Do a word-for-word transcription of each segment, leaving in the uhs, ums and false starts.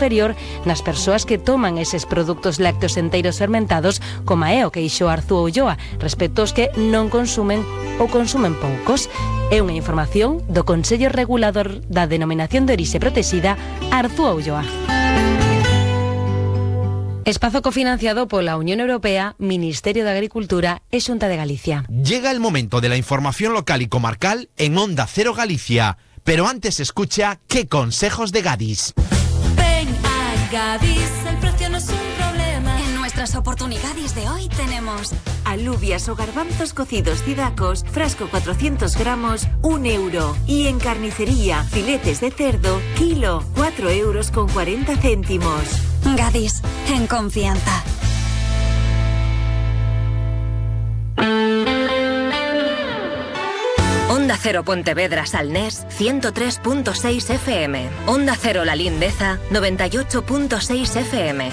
inferior nas persoas que toman eses produtos lácteos enteiros fermentados, como é o que dixo Arzúa Ulloa, respecto aos que non consumen ou consumen poucos. É unha información do Consello Regulador da Denominación de Orixe Protexida, Arzúa Ulloa. Espazo cofinanciado pola Unión Europea, Ministerio de Agricultura e Xunta de Galicia. Llega el momento de la información local y comarcal en Onda Cero Galicia. Pero antes escucha qué consejos de Gadis. Ven a Gadis, el precio no es un problema. En nuestras oportunidades de hoy tenemos alubias o garbanzos cocidos cidacos, frasco cuatrocientos gramos, un euro. Y en carnicería, filetes de cerdo, kilo, cuatro euros con cuarenta céntimos. Gadis, en confianza. Onda Cero Pontevedra Salnés, ciento tres punto seis F M. Onda Cero La Lindeza, noventa y ocho punto seis F M.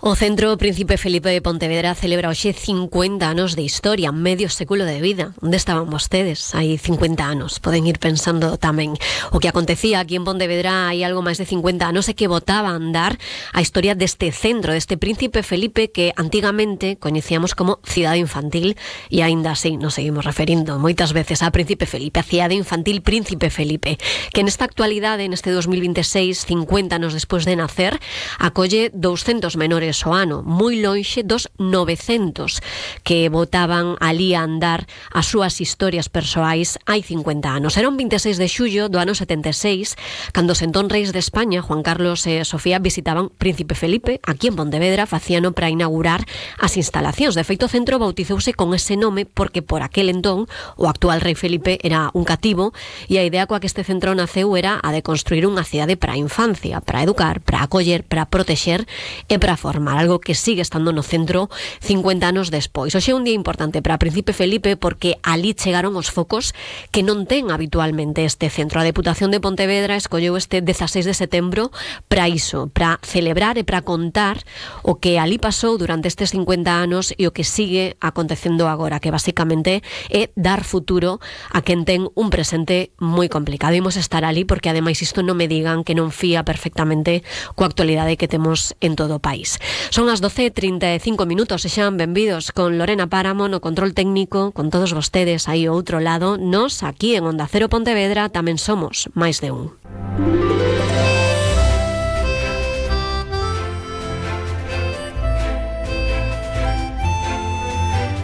O Centro Príncipe Felipe de Pontevedra celebra hoxe cincuenta anos de historia, medio século de vida. Onde estaban vostedes? Hai cincuenta anos. Poden ir pensando tamén o que acontecía aquí en Pontevedra hai algo máis de cincuenta anos e que botaba a andar a historia deste centro, deste Príncipe Felipe que antigamente coñecíamos como Cidade Infantil e aínda así nos seguimos referindo moitas veces a Príncipe Felipe, a Cidade Infantil Príncipe Felipe, que nesta actualidade, neste dos mil veintiséis, cincuenta anos despois de nacer, acolle douscentos menores o ano, moi lonxe dos novecentos que botaban ali a andar as súas historias persoais hai cincuenta anos. Era un veintiséis de xullo do ano setenta e seis, cando os entón reis de España, Juan Carlos e Sofía, visitaban Príncipe Felipe aquí en Pontevedra, facíano para inaugurar as instalacións. De feito, o centro bautizouse con ese nome porque por aquel entón o actual rei Felipe era un cativo e a idea coa que este centro naceu era a de construir unha cidade para a infancia, para educar, para acoller, para protexer e para formar, algo que sigue estando no centro cincuenta anos despois. Hoxe é un día importante para Príncipe Felipe porque ali chegaron os focos que non ten habitualmente este centro. A Deputación de Pontevedra escolleu este dezaseis de setembro para iso, para celebrar e para contar o que ali pasou durante estes cincuenta anos e o que sigue acontecendo agora, que basicamente é dar futuro a quen ten un presente moi complicado. Imos estar ali porque ademais isto non me digan que non fía perfectamente coa actualidade que temos en todo o país. Son as doce e trinta e cinco minutos e xan benvidos con Lorena Páramo no control técnico, con todos vostedes aí ao outro lado. Nos aquí en Onda Cero Pontevedra tamén somos máis de un.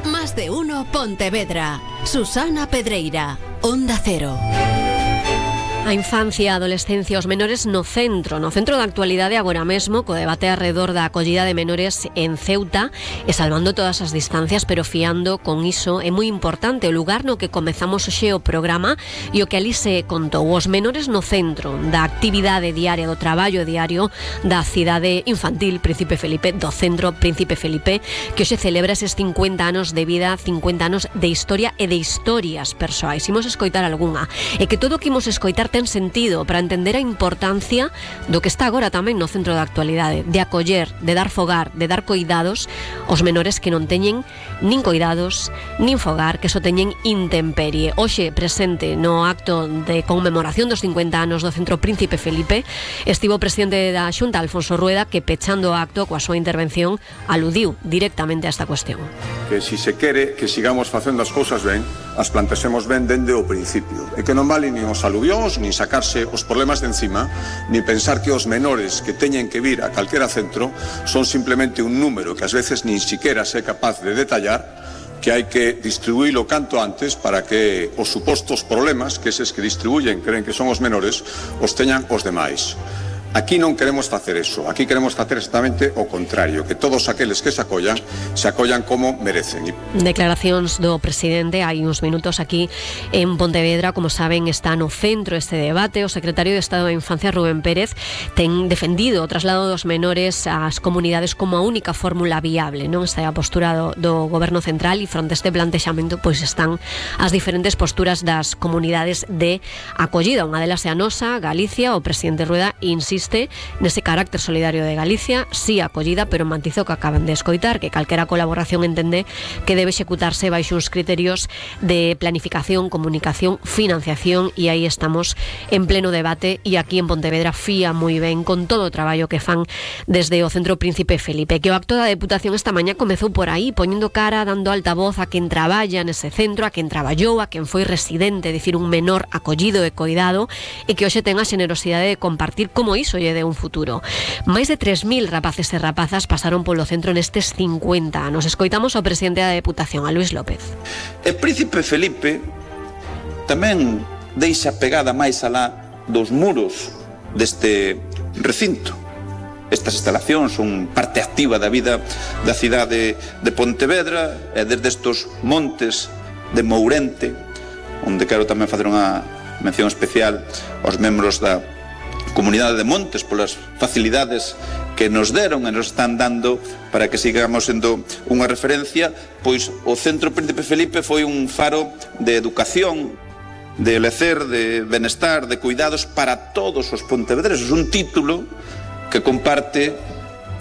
Más de uno Pontevedra. Susana Pedreira, Onda Cero. A infancia, a adolescencia, os menores no centro, no centro da actualidade agora mesmo, co debate alrededor da acollida de menores en Ceuta e salvando todas as distancias, pero fiando con iso. É moi importante o lugar no que comezamos hoxe o programa e o que ali se contou. Os menores no centro da actividade diaria, do traballo diario da cidade infantil Príncipe Felipe, do centro Príncipe Felipe, que hoxe celebra eses cincuenta anos de vida, cincuenta anos de historia e de historias persoais. Imos escoitar algunha. E que todo o que imos escoitar ten sentido para entender a importancia do que está agora tamén no centro da actualidade, de acoller, de dar fogar, de dar coidados aos menores que non teñen nin coidados, nin fogar, que só teñen intemperie. Hoxe presente no acto de conmemoración dos cincuenta anos do Centro Príncipe Felipe estivo o presidente da Xunta, Alfonso Rueda, que pechando o acto coa súa intervención aludiu directamente a esta cuestión. Que si se quere que sigamos facendo as cousas ben, as plantexemos ben dende o principio, e que non vale nin os aluvións, nin sacarse os problemas de encima, nin pensar que os menores que teñen que vir a calquera centro son simplemente un número que ás veces nin siquiera se é capaz de detallar, que hai que distribuílo canto antes para que os supostos problemas que eses que distribuyen creen que son os menores os teñan os demais. Aquí non queremos facer eso, aquí queremos facer exactamente o contrario, que todos aqueles que se acollan, se acollan como merecen. Declaracións do presidente hai uns minutos aquí en Pontevedra. Como saben, está no centro este debate. O secretario de Estado da Infancia, Rubén Pérez, ten defendido o traslado dos menores ás comunidades como a única fórmula viable, non? Esta é a postura do, do Goberno Central e fronte a este plantexamento pois están as diferentes posturas das comunidades de acollida. Unha delas é a nosa, Galicia. O presidente Rueda insiste insiste nese carácter solidario de Galicia, sí acollida, pero mantizo que acaban de escoitar, que calquera colaboración entende que debe executarse baixo uns criterios de planificación, comunicación, financiación, e aí estamos en pleno debate, e aquí en Pontevedra fía moi ben con todo o traballo que fan desde o Centro Príncipe Felipe, que o acto da Deputación esta mañá comezou por aí, poñendo cara, dando altavoz a quen traballa nese centro, a quen traballou, a quen foi residente, dicir, un menor acollido e coidado, e que hoxe ten a xenerosidade de compartir como iso lle de un futuro. Máis de tres mil rapaces e rapazas pasaron polo centro nestes cincuenta anos. Escoitamos ao presidente da Deputación, a Luis López. E Príncipe Felipe tamén deixa pegada máis alá dos muros deste recinto. Estas instalacións son parte activa da vida da cidade de Pontevedra, e desde estos montes de Mourente, onde quero tamén facer unha mención especial aos membros da Comunidade de Montes polas facilidades que nos deron e nos están dando para que sigamos sendo unha referencia, pois o Centro Príncipe Felipe foi un faro de educación, de lecer, de benestar, de cuidados para todos os pontevedreses, un título que comparte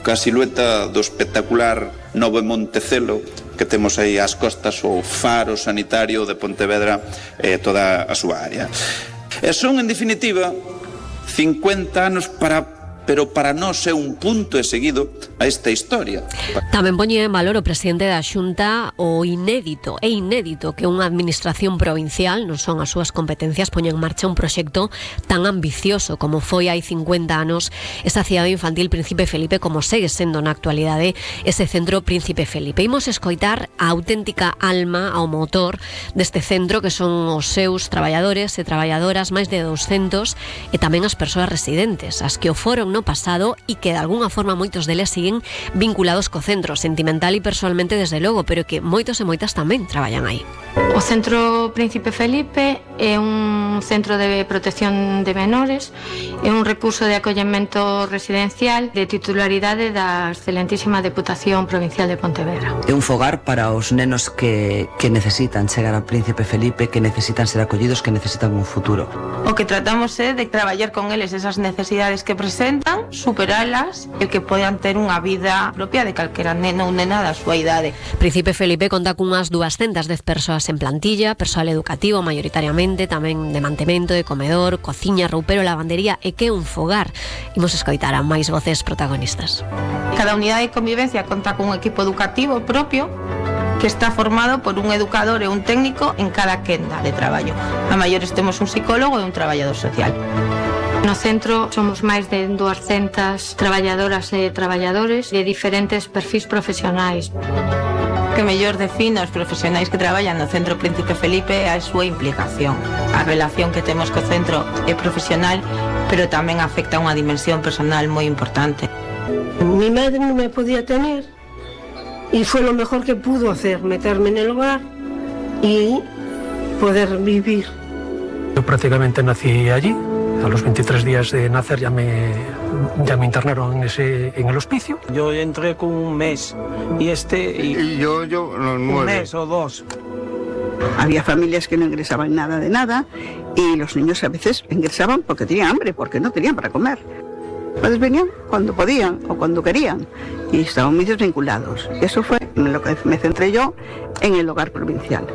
ca silueta do espectacular Novo Montecelo que temos aí ás costas, o faro sanitario de Pontevedra e toda a súa área. E son, en definitiva, cincuenta anos para pero para nós é un punto e seguido a esta historia. Tamén poñe en valor o presidente da Xunta o inédito, é inédito que unha administración provincial, non son as súas competencias, poña en marcha un proxecto tan ambicioso como foi hai cincuenta anos esa cidade infantil Príncipe Felipe, como segue sendo na actualidade ese Centro Príncipe Felipe. Imos escoitar a auténtica alma, ao motor deste centro, que son os seus traballadores e traballadoras, máis de doscentos, e tamén as persoas residentes, as que o foron no pasado e que de alguna forma moitos deles siguen vinculados co centro, sentimental e personalmente desde logo, pero que moitos e moitas tamén traballan aí. O Centro Príncipe Felipe é un centro de protección de menores, é un recurso de acollemento residencial de titularidade da excelentísima Deputación Provincial de Pontevedra. É un fogar para os nenos que, que necesitan chegar ao Príncipe Felipe, que necesitan ser acollidos, que necesitan un futuro. O que tratamos é de traballar con eles esas necesidades que presentan, superalas, e que podan ter unha vida propia de calquera neno ou nena da súa idade. Príncipe Felipe conta cunhas doscientas dez persoas en plantilla, persoal educativo maioritariamente, tamén de mantemento, de comedor, cociña, roupero, lavandería, e que é un fogar. Imos escoitar a máis voces protagonistas. Cada unidade de convivencia conta cun equipo educativo propio que está formado por un educador e un técnico en cada quenda de traballo. A maiores temos un psicólogo e un traballador social. No centro somos máis de doscientas traballadoras e traballadores de diferentes perfis profesionais. Que mellor define os profesionais que traballan no Centro Príncipe Felipe é a súa implicación. A relación que temos co centro é profesional, pero tamén afecta a unha dimensión personal moi importante. Mi madre non me podía tener y fue lo mejor que pudo hacer, meterme en el hogar y poder vivir. Yo prácticamente nací allí. A los veintitrés días de nacer ya me, ya me internaron en, ese, en el hospicio. Yo entré con un mes y este... Y, y yo, yo, los nueve. Un mes o dos. Había familias que no ingresaban nada de nada y los niños a veces ingresaban porque tenían hambre, porque no tenían para comer. Pues venían cuando podían o cuando querían y estaban muy desvinculados. Eso fue en lo que me centré yo en el hogar provincial.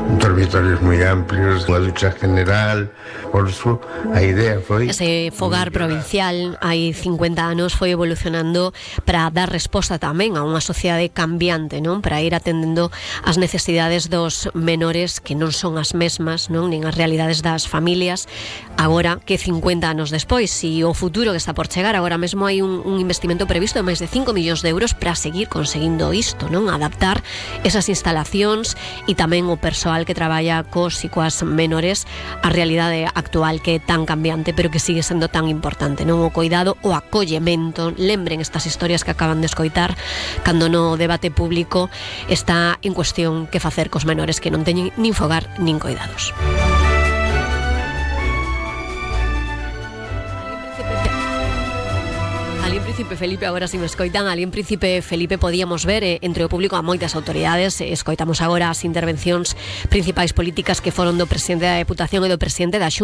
Dormitorios moi amplios, unha ducha general, por su, a idea foi... Ese fogar provincial hai cincuenta anos foi evolucionando para dar resposta tamén a unha sociedade cambiante, non? Para ir atendendo as necesidades dos menores que non son as mesmas, non? Nin as realidades das familias. Agora que cincuenta anos despois, e o futuro que está por chegar, agora mesmo hai un, un investimento previsto de máis de cinco millóns de euros para seguir conseguindo isto, non? Adaptar esas instalacións e tamén o persoal que traballa cos e coas menores a realidade actual que é tan cambiante pero que sigue sendo tan importante, non? O coidado, o acollemento. Lembren estas historias que acaban de escoitar cando no debate público está en cuestión que facer cos menores que non teñen nin fogar nin coidados. Ali en Príncipe Felipe, agora si me escoitan, ali en Príncipe Felipe podíamos ver eh, entre o público a moitas autoridades. eh, Escoitamos agora as intervencións principais políticas que foron do presidente da Deputación e do presidente da Xunta.